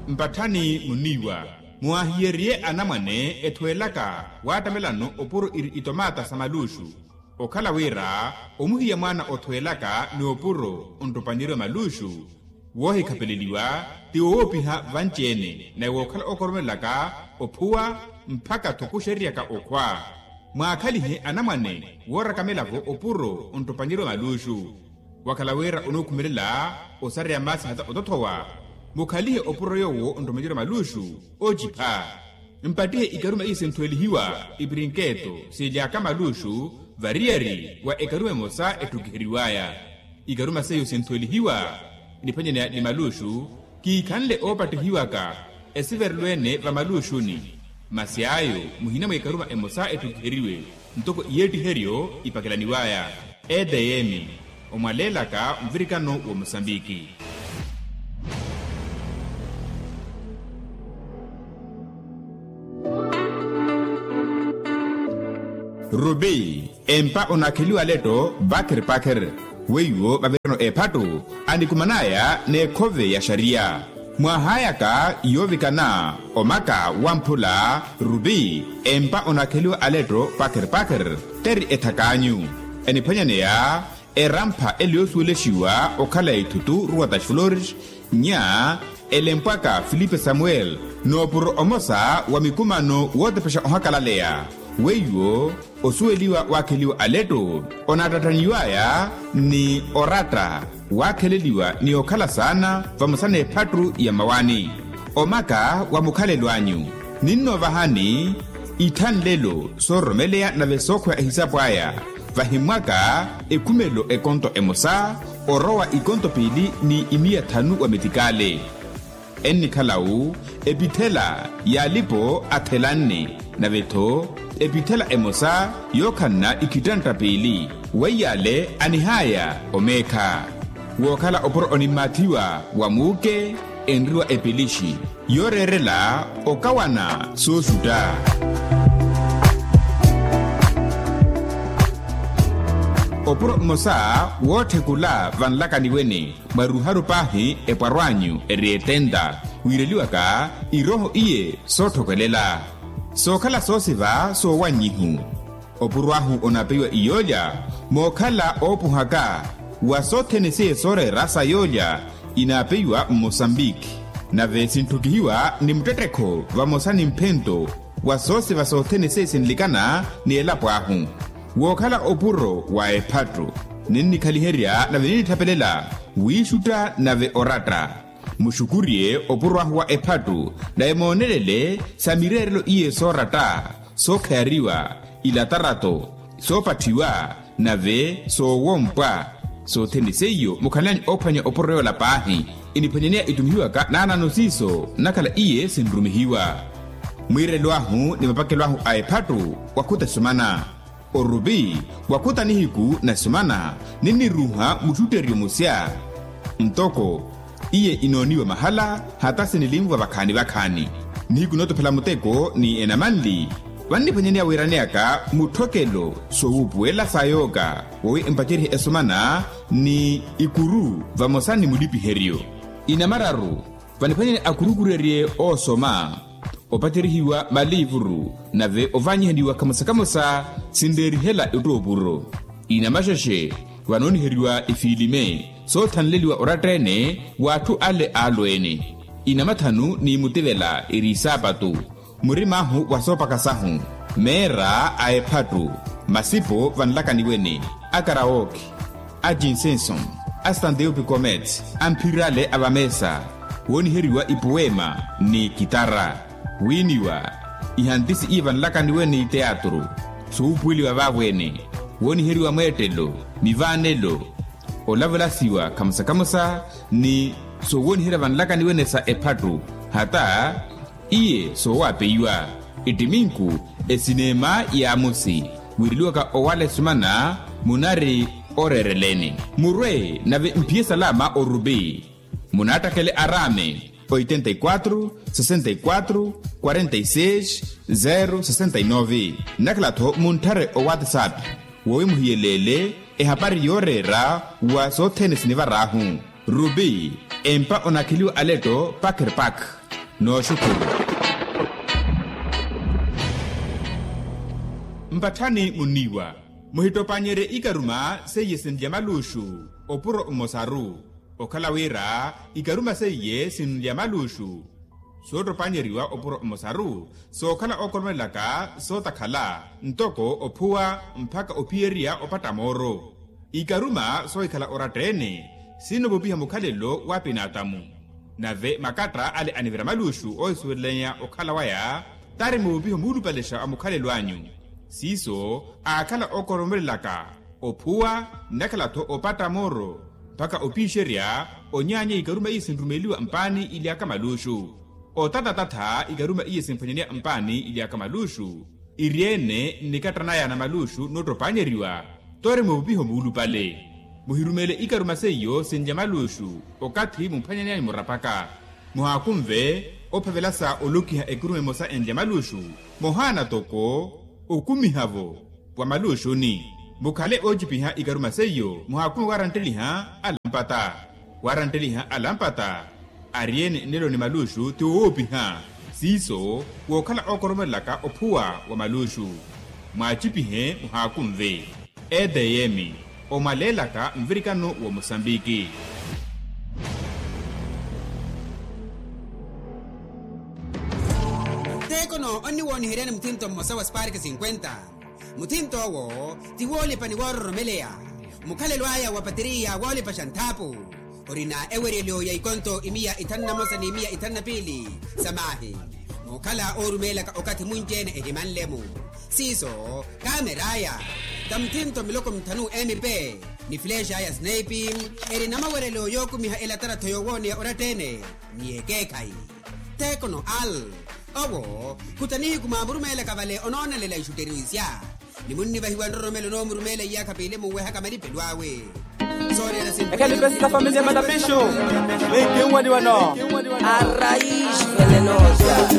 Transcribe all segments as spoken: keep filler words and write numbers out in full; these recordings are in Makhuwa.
Mpatthani muniiwa, muwaahiyeriye anamwane ethweelaka waattamelano opuro iri itomaata sa maluuxu. Okhala wira omuhiya mwaana othweelaka ni opuro onttopanyeriwa maluuxu, woohikhapeleliwa ti wowoopiha vanci-ene naye wookhala ookoromelelaka ophuwa mpakha-tho kuxeriyaka okhwa. Mwaakhalihe anamwane woorakamela-vo opuro onttopanyeriwa maluuxu. Wakhala wira onookhumelela osareya maasi hata otothowa, mukhalihe opuro yoowo onttopanyeriwa maluuxu oocipha. Mpattihe ikaruma iye sinthwelihiwa, ipirinketo siily'aka maluuxu variyari wa ekaruma emosa etthukiheriw'aya. Ikaruma seiyo sinthwelihiwa niphenyeneya ni maluuxu, kiikhanle oopattihiwaka esiverelo-ene vamaluuxuni. Masi ayo muhina mwa ikaruma emosa etthukiheriwe ntoko iyeettiheryo ipakelaniw'aya. Edeyemi, omwaleelaka mvirikano wa mosambiki. Rubi, empa onaakheliwa aletto pakher pakher. Weiwo vavirano ephattu anikuman'aya n'ekhove ya xariya. Mwaahayaka yoovikana omaka wamphula rubi, empa onaakheliwa aletto pakher pakher, teri ethak'anyu. Eniphwanyaneya erampha ele yoosuwelexiwa okhala ithutu ruwa ta xifulori, nya elempwaka filipe samuel, noopuro omosa wa mikumano wootepexa ohakalaleya. Weiwo osuweliwa waakheliwa aletto, onaattattanyiw'aya ni oratta, waakheleliwa ni okhala saana vamosa n'ephattu ya mawani. Omaka wa mukhalelo anyu, ninnoovahani ithanlelo soororomeleya nave sookhweya ehisapu aya. Vahimmwaka ekhumelo ekonto emosa, orowa ikonto piili ni imiya thanu wa metikale. Ennikhala-wu epithela y'alipo athelanne, nave-tho epithela emosa yookhanna ikhittantta piili. Weiy'ale anih'aya omeekha. Wookhala opuro onimmaathiwa wa muuke, enriwa epilixi yooreerela okawana sooxutta. Opuro mmosa wootthekula vanlakaniweni mwa ruharu paahi epwarw'anyu eri etenta, wiireliwaka irooho iye sootthokelela. Sookhala soosiva soowannyihu. Opuro ahu onaapeiwa iyoolya mookhala oopuhaka wa sothene seiye sooreera sa yoolya, inaapeiwa mmosambiki. Nave sintthukihiwa ni muttettekho vamosa ni mphento wa soosiva sothene seiye sinlikana ni elapo ahu. Wookhala opuro wa ephattu, ninnikhaliherya nave ninnithapelela wiixutta nave oratta. Muxukuriye opuro ahu wa ephattu, nave moonelele sa mireerelo iye sooratta, sookhayariwa, ilatarato, soopatthiwa, nave soowompwa. Sothene seiyo mukhanlani oophwanya opuro yoola paahi. Iniphwanyaneya itumihiwaka naanano siiso nnakhala iye sinrumihiwa. Mwiirelo ahu ni mapakelo ahu a ephattu wakhuta esumana. Orupi wakhuta nihiku na esumana, ninniruuha muxutteryo musya. Ntoko iye inooniwa mahala hata sinilinvwa vakhaani vakhaani. Nihiku nootophela muteko ni enamanli, vanniphwanyaneya wiiraneyaka mutthokelo soowuupuwela sa yooka, wowi empaceryihe esumana ni ikuru vamosa ni mulipiheryo. Inamararu vaniphwanyani akurukurerye oosoma, opacerihiwa maliivuru, nave ovaanyihaniwa kamosa kamosa sinreerihela ettoopuro. Inamaxexe vanooniheriwa ifiilime soothanleliwa oratta-ene w'atthu ale aalweene. Inamathanu ni mutivela eri isaapatu, murim'ahu wa soopaka sahu, meera a ephattu, masipo vanlakaniwene, a karawoki, a cinsenson, a standeupi comets, a mphirale a vameesa, wooniheriwa ipuweema ni kitara, wiiniwa ihantisi iye vanlakaniwene iteatru, soowuupuweliwa vaavo-ene, wooniheriwa mweettelo, mivaanelo, olavelasiwa kamosa kamosa ni soowooniherya vanlakaniwene sa ephattu, hata iye soowapeiwa. Ittiminku esineema y'amosi wiireliwaka owala esumana munari oreereleni. Murwe nave mphiye salama orupi, munaattakele araame oitenta e quatro sessenta e quatro quarenta e seis zero sessenta e nove. Nnakhala-tho muntthare owatsapp wowi muhiyeleele ehapari yooreera wa sothene sinivar'ahu. Rupi empa onaakheliwa aletto pakerpak. Nooxukhulu. Mpatthani munniiwa, muhittopannyerye ikaruma seiye sinlya maluuxu. Opuro mmosaru okhala wira ikaruma seiye sinlya maluuxu. Soottopannyeriwa opuro mmosaru sookhala ookoromelelaka sootakhala ntoko ophuwa mpakha ophiyerya opatta mooro. Ikaruma soohikhala oratta-ene sinoovupiha mukhalelo w'apinaatamu. Nave makatta ale anivira maluuxu oohisuwelelanya okhala waya tari muvupiho muulupalexa wa mukhalelo anyu. Siiso aakhala ookoromelelaka ophuwa nnakhala-tho opatta mooro mpakha opiixerya. Onyaanya ikaruma iye sinrumeliwa mpaani ily'aka maluuxu. Otatatatha ikaruma iye sinphwanyaniwa mpaani ily'aka maluuxu. Iri-ene nnikatta naya na maluuxu noottopanyeriwa. Tori muvupiho muulupale muhirumele ikaruma seiyo sinlya maluuxu. Okathi mumphwanyaneyani murapaka muhaakunve ophavela sa olokiha ekuruma emosa enlya maluuxu. Mohaana toko okumiha-vo wa maluuxuni mukhale oocipiha ikaruma seiyo muhaakunve waarantteliha alampata. Waarantteliha alampata ari-ene nnelo ni maluuxu ti woopiha. Siiso wookhala ookoromelelaka ophuwa wa maluuxu mwaacipihe muhaakunve. Etm omwaleelaka nvirikano wa musambiki. Tekono onniwooniheryani muthinto mmosa wa spark cinquenta. Muthinto owo ti woolipa ni woororomeleya. Mukhalelo aya wa pateriya woolipaxa nthaapu. Orina eweryelo ya ikonto imiya ithanu na mosa ni imiya ithanu na piili sa maahi. Mookhala oorumeelaka okathi munci-ene ehimanle-mu. Siiso kaameraya ta muthinto miloko mithanu mp ni flexa ya snaipi. Eri na maweryelo yookumiha elatarattho yoowooneya oratta-ene ni ekeekhayi. Tekono al owo khuta nihiku mwaamurumeelaka vale onoonelela ixutteriwisya. Ni munnivahiwa nroromelo noomurumeela iyaakha piili munwehaka malipelo awe. Ekhalipe sitafamiliya malapixu. Wiki nwaliwano. Arraiz venenosa.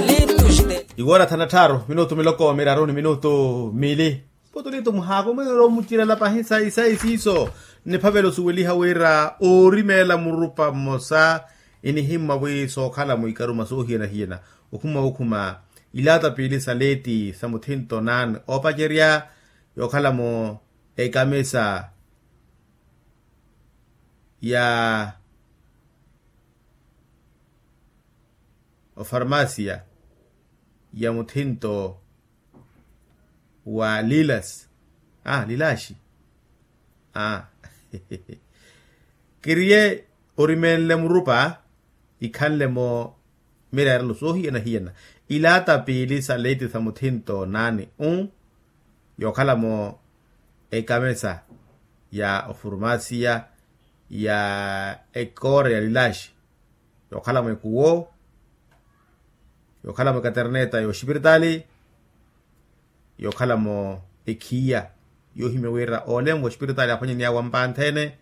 Litus de. Iwoora thana tthaaru minutu miloko miraru ni minutu mili. Potolito muhaakumwiro omucirela pahi sayi sayi siiso. Niphavela osuweliha wira oorimeela murupa mmosa inihimmwa wi sookhala-mo ikaruma soohiyana-hiyana. Okhuma okhuma ilaata piili sa leeti sa muthinto naani oopacerya yookhala-mo ekamisa ya ofarmasiya ya muthinto wa lilas aa lilaxi aa kiriye orimeenle murupa ikhanle-mo mireerelo soohiyana-hiyana ilaata piili sa leeti sa muthinto naani u yookhala-mo ekamesa ya ofurmasiya ya ekoora ya lilaxi yookhala-mo ekuwo yookhala-mo ekaterneta ya oxipiritaali yookhala-mo ekhiya yoohimya wira oole-mo oxipiritaali aphwanyaniy'awe ampantheene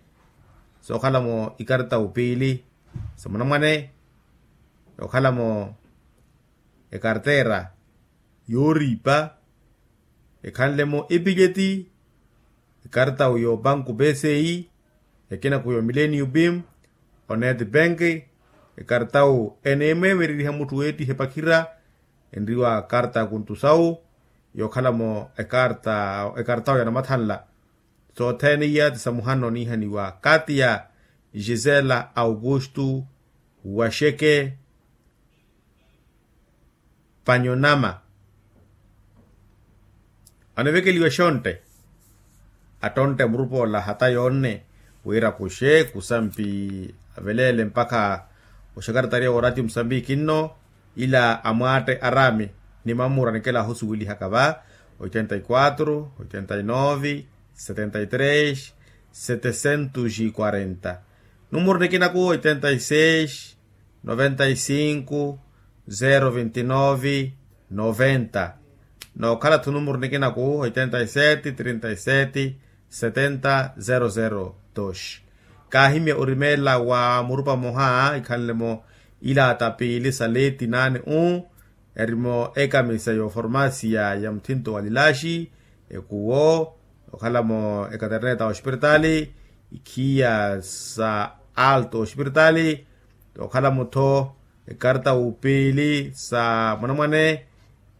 sookhala-mo ikartawu piili sa munamwane yookhala-mo ekarteera yooriipa ekhanle-mo epileti ekartawu y'opanku pci ekinaku y'omillennium bim onet bank ekartawu eneemweemereriha mutthu weettiha epakhira enriwa karta ya kuntusawu yookhala-mo ekartawu ya namathanla sothene iya ti sa muhano oniihaniwa kaati ya gisela augustu waxeke panyonama anivekeliwa exontte attontte murupoola hata yoonne wira kuxe kusampi aveleele mpakha oxekaretariya wa oratio musambiki nno ila amwaatte araami ni mammura nikela ahusuwelihaka va oitenta y quatro oitenta y nove setenta y tres setecentos y quarenta numuru nikinaku oitenta y seis noventa y cinco zero vinte y nove noventa nookhala-tho numuru nikinaku oitenta y sete trinta y sete setenta zero zero dos kaahimya orimeela wa murupa mmoha ikhanle-mo ilaata piili sa leeti naani u eri-mo ekamisa y'oformasiya ya muthinto wa lilaxi ekuwo okhala-mo ekaterneta oxipiritaali ikhiya sa alto oxipiritaali okhala-mo-tho ekarta wupiili sa mwanamwane.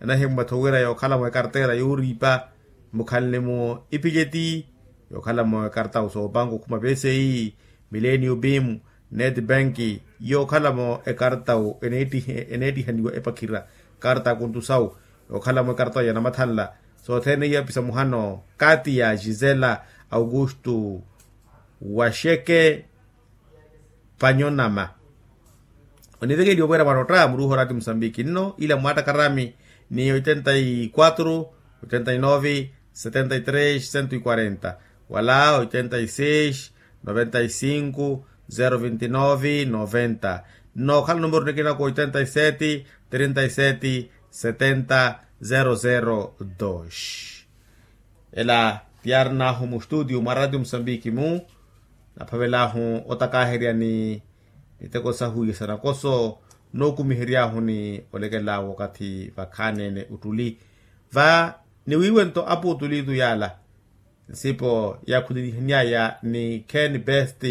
Anahimmwetho wira yookhalamo ekarta ira yooriipa mukhalini-mo epijeti, yookhalamo ekarta soopanka okhuma peseyi, millenio bim, net bank, yookhalamo ekarta eneettihaniwa epakhira, karta kuntu sawu, yookhalamo ekarta ya namathanla. Sothene iyo apisa muhano kati ya gisela augusto, waxeke, panyonama. Onivekeliwa wira mwarotta muruuha oraati musambiki nno ila mwattakarami, ni oitenta y quatro, oitenta y nove, setenta y tres cento y quarenta, wala oitenta y seis, noventa y cinco, zero veinti nove noventa. Nnookhala numeru nikinako oitenta y sete, trinta y sete, setenta, zero zero dos. Ela tiyaarin'ahu mustutiyo mwa ratio musambiki-mu, naphavel'ahu otakaherya ni miteko sahu ya sanakoso, nookumihery'ahu ni olekel'awe wakathi vakhaani-ene ottuli. Va niwiiwe nto apuutulitu yaala nsipo yaakhulelihany'aya ni ken best.